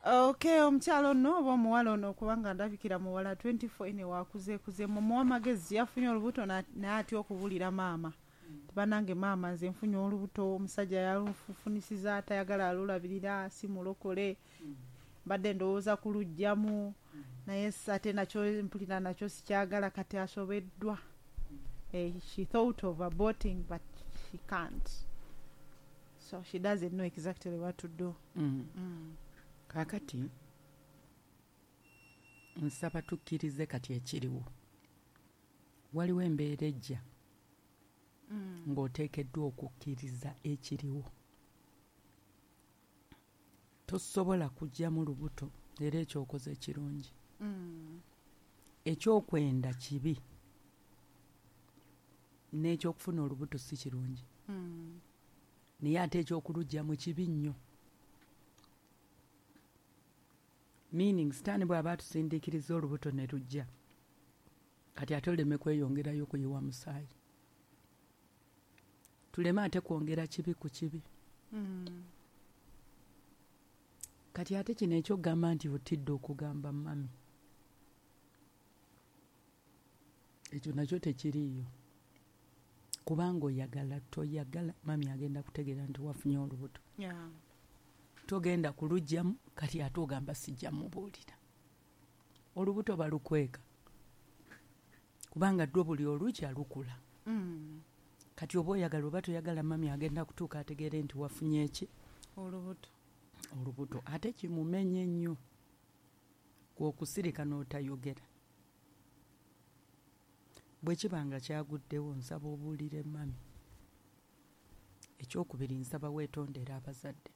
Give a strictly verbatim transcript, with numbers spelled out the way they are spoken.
Okay, omukyalo ono oba omuwala ono, kubanga ndabikira muwala twenty-four, ene wakuzeekuze, mumuwa amagezi. Yafunye olubuto na- n'atya okubuulira maama. Banange maama, nze nfunye olubuto, omusajja yalufunisiza, atayagala alulabirira, si mulokole, mbadde ndowooza kuluggyamu, naye s- ate nakyo mpulira nakyo sikyagala, kati asobeddwa. Eh, she thought of aborting, but she can't, so she doesn't know exactly what to do. Mm. mm. Kaakati nsaba tukkirize kati ekiriwo. Waliwo embeera ejja Mm. ng'oteekeddwa okukkiriza ekiriwo. Tosobola kuggyamu lubuto, era ekyokoze kirungi. Mm. Ekyokwenda kibi, n'ekyokufuna olubuto si kirungi, Mm. naye ate ekyokuluggyamu kibi nnyo, meaning Sitaani bw'aba atusindiikiriza olubuto ne lujja, kati ate oleme kweyongerayo kuyiwa musaayi, tuleme ate kwongera kibi ku kibi. Mm. Kati ate kino ekyokugamba nti otidde okugamba mummy, ekyo nakyo tekiriiyo, kubanga oyagala toyagala, mummy agenda kutegeera nti wafunye olubuto. Yeah. Togenda kuluggyamu, kati ate ogamba sijja mubuulira. Olubuto balukweka kubanga ddwo buli olukya lukula. Mm. Kati oba oyagala oba toyagala, mummy agenda kutuuka ategeere nti wafunye eki? Olubuto. Olubuto. Ate kimumenye nnyo kwokusirika n'otayogera. Bwe kiba nga kyaguddewo, nsaba obuulire mummy. Ekyokubiri, nsaba weetondere abazadde.